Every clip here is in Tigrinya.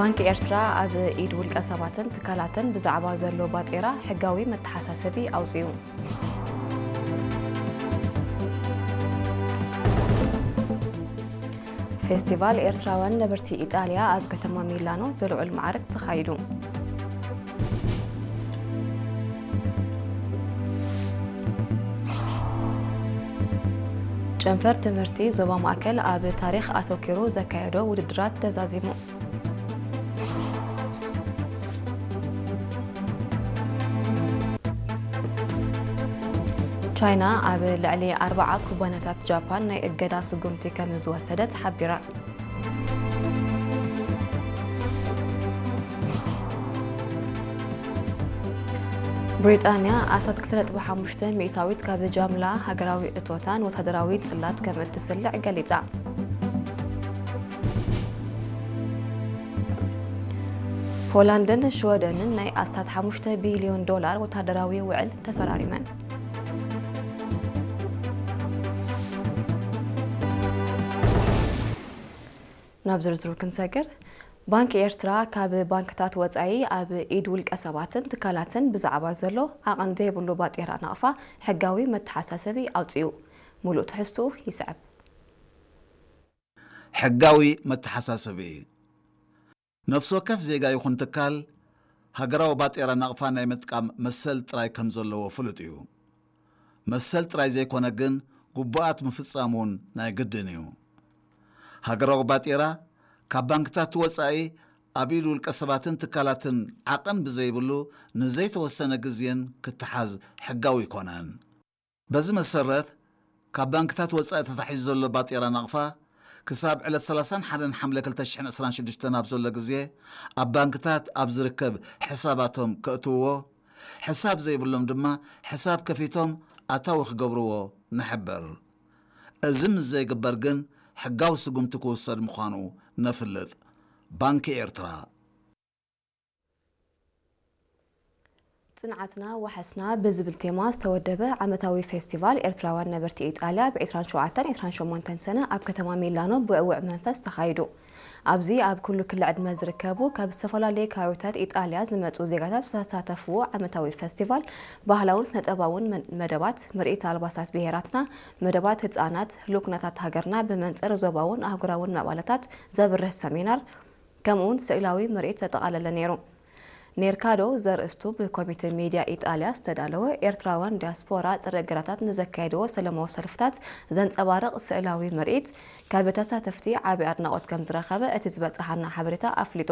ባንክ ኤርትራ ኣብ ኢድ ውልቀ ሰባትን ትካላትን ብዛዕባ ዘሎ ባጤራ ሕጋዊ መተሓሳሰቢ ኣውጺኡ። ፌስቲቫል ኤርትራውያን ነበርቲ ኢጣልያ ኣብ ከተማ ሚላኖ ብልዑል ማዕርግ ተኻይዱ። ጨንፈር ትምህርቲ ዞባ ማእከል ኣብ ታሪኽ ኣተኪሩ ዘካየዶ ውድድራት ተዛዚሙ። ቻይና ኣብ ልዕሊ ኣርብዓ ኩባንያታት ጃፓን ናይ እገዳ ስጉምቲ ከም ዝወሰደት ሓቢራ። ብሪጣንያ ኣስታት ክልተ ነጥቢ ሓሙሽተ ሚእታዊት ካብ ጃምላ ሃገራዊ እቶታን ወታደራዊ ጽላት ከም እትስልዕ ገሊጻ። ፖላንድን ሽወደንን ናይ ኣስታት ሓሙሽተ ቢልዮን ዶላር ወታደራዊ ውዕል ተፈራሪመን። ናብ ዝርዝሩ ክንሰግር፣ ባንክ ኤርትራ ካብ ባንክታት ወጻኢ ኣብ ኢድ ውልቀ ሰባትን ትካላትን ብዛዕባ ዘሎ ዓቐን ዘይብሉ ባጤራ ናቕፋ ሕጋዊ መተሓሳሰቢ ኣውጺኡ። ሙሉእ ትሕዝትኡ ይስዕብ። ሕጋዊ መተሓሳሰቢ። ነፍሲ ወከፍ ዜጋ ይኹን ትካል ሃገራዊ ባጤራ ናቕፋ ናይ ምጥቃም መሰል ጥራይ ከም ዘለዎ ፍሉጥ እዩ። መሰል ጥራይ ዘይኮነ ግን ግቡኣት ምፍጻም እውን ናይ ግድን እዩ። ሃገራዊ ባጤራ ካብ ባንክታት ወጻኢ ኣብ ኢድ ውልቀ ሰባትን ትካላትን ዓቐን ብዘይብሉ ንዘይተወሰነ ግዜን ክተሓዝ ሕጋዊ ኣይኮነን። በዚ መሰረት ካብ ባንክታት ወጻኢ ተታሒዙ ዘሎ ባጤራ ናቕፋ ክሳብ ዕለት ሰላሳን ሓደን ሓምለ ክልተ ሽሕን ዕስራን ሽዱሽተን ኣብ ዘሎ ግዜ ኣብ ባንክታት ኣብ ዝርከብ ሕሳባቶም ከእትውዎ፣ ሕሳብ ዘይብሎም ድማ ሕሳብ ከፊቶም ኣታዊ ክገብርዎ ንሕብር። እዚ ምስ ዘይግበር ግን ሕጋዊ ስጉምቲ ክውሰድ ምዃኑ ነፍልጥ። ባንኪ ኤርትራ። ጽንዓትና ዋሕስና ብዝብል ቴማ ዝተወደበ ዓመታዊ ፌስቲቫል ኤርትራውያን ነበርቲ ኢጣልያ ብ ዕስራን ሸውዓተን ዕስራን ሸሞንተን ሰነ ኣብ ከተማ ሚላኖ ብዕዉዕ መንፈስ ተኻይዱ። ኣብዚ ኣብ ኩሉ ክሊ ዕድመ ዝርከቡ ካብ ዝተፈላለየ ከባቢታት ኢጣልያ ዝመጹ ዜጋታት ዝተሳተፍዎ ዓመታዊ ፌስቲቫል ባህላውን ስነ-ጥበባውን መ-፣ መደባት፣ ምርኢት ኣልባሳት ብሄራትና፣ መደባት ህጻናት፣ ህሉው ኩነታት ሃገርና ብመንጽር ዞባውን ኣህጉራውን ምዕባለታት ዘብርህ ሰሚናር፣ ከምኡውን ስእላዊ ምርኢት ዘጠቓለለ ነይሩ። ኔርካዶ ዘርእስቱ ብኮሚተ ሚድያ ኢጣልያ ዝተዳለወ ኤርትራውያን ዲያስፖራ ጥረ እገዳታት ንዘካየድዎ ሰለማዊ ሰልፍታት ዘንጸባርቕ ስእላዊ ምርኢት ካብ ተሳተፍቲ ዓቢ ኣድናቖት ከም ዝረኸበ እቲ ዝበጽሓና ሓበሬታ ኣፍሊጡ።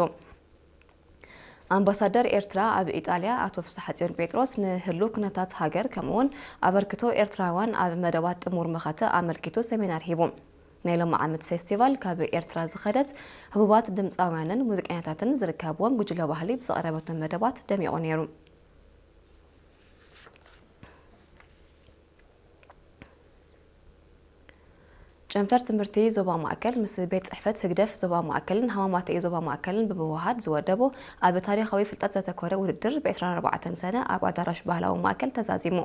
ኣምባሳደር ኤርትራ ኣብ ኢጣልያ ኣቶ ፍስሓጽዮን ጴጥሮስ ንህሉው ኩነታት ሃገር ከምኡውን ኣበርክቶ ኤርትራውያን ኣብ መደባት ጥሙር መኸተ ኣመልኪቱ ሰሚናር ሂቡ። ናይ ሎሚ ዓመት ፌስቲቫል ካብ ኤርትራ ዝኸደት ህቡባት ድምጻውያንን ሙዚቀኛታትን ዝርከብዎም ጉጅለ ባህሊ ብዘቕረበቶም መደባት ደሚቑ ነይሩ። ጨንፈር ትምህርቲ ዞባ ማእከል ምስ ቤት ጽሕፈት ህግደፍ ዞባ ማእከልን ሃማማተኢ ዞባ ማእከልን ብምውሃድ ዝወደቦ ኣብ ታሪኻዊ ፍልጠት ዘተኮረ ውድድር ብ ዕስራን ኣርባዕተን ሰነ ኣብ ኣዳራሽ ባህላዊ ማእከል ተዛዚሙ።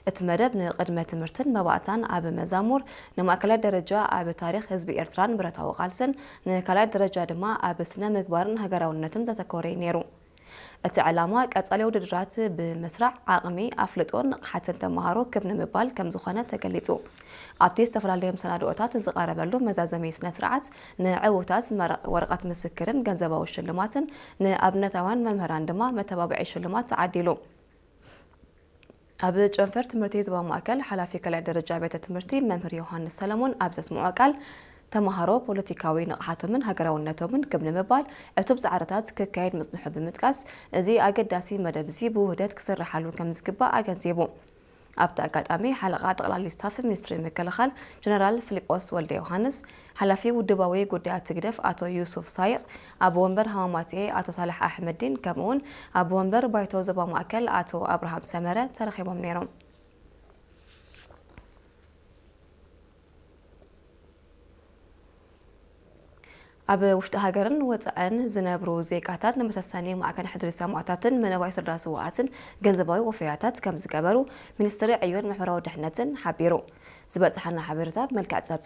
እቲ መደብ ንቅድመ ትምህርትን መባእታን ኣብ መዛሙር፣ ንማእከላይ ደረጃ ኣብ ታሪኽ ህዝቢ ኤርትራን ብረታዊ ቃልስን፣ ንካልኣይ ደረጃ ድማ ኣብ ስነ ምግባርን ሃገራውነትን ዘተኮረ እዩ ነይሩ። እቲ ዕላማ ቀጻሊ ውድድራት ብምስራዕ ዓቕሚ ኣፍልጦን ንቕሓትን ተመሃሮ ክብ ንምባል ከም ዝኾነ ተገሊጹ። ኣብቲ ዝተፈላለዩ መሰናድኦታት ዝቐረበሉ መዛዘሚ ስነ ስርዓት ንዕዉታት መረ-፣ ወረቐት ምስክርን ገንዘባዊ ሽልማትን ንኣብነታውያን መምህራን ድማ መተባብዒ ሽልማት ተዓዲሉ። ኣብ ጨንፈር ትምህርቲ ዞባ ማእከል ሓላፊ ካልኣይ ደረጃ ቤተ ትምህርቲ መምህር ዮሃንስ ሰለሞን ኣብ ዘስምዖ ቃል፣ ተመሃሮ ፖለቲካዊ ንቕሓቶምን ሃገራውነቶምን ክብ ንምባል ዕቱብ ጻዕርታት ክካየድ ምጽንሑ ብምጥቃስ፣ እዚ ኣገዳሲ መደብ እዚ ብውህደት ክስርሓሉ ከም ዝግባእ ኣገንዚቡ። ኣብቲ ኣጋጣሚ ሓለቓ ጠቕላሊ ስታፍ ሚኒስትሪ ምክልኻል ጀነራል ፊሊጶስ ወልደ ዮሃንስ፣ ሓላፊ ውድባዊ ጉዳያት ህግደፍ ኣቶ ዩሱፍ ሳይቕ፣ ኣቦ ወንበር ሃማማትኤ ኣቶ ሳልሕ ኣሕመዲን ከምኡውን ኣቦ ወንበር ባይቶ ዞባ ማእከል ኣቶ ኣብርሃም ሰመረ ተረኺቦም ነይሮም። ኣብ ውሽጢ ሃገርን ወጻእን ዝነብሩ ዜጋታት ንመሰሰኒ ማዕከን ሕድሪ ሰማእታትን መነባይ ስድራ ስውኣትን ገንዘባዊ ወፈያታት ከም ዝገበሩ ሚኒስትሪ ዕዮን ማሕበራዊ ድሕነትን ሓቢሩ። ዝበጽሓና ሓበሬታ ብመልክዕ ጸብጻብ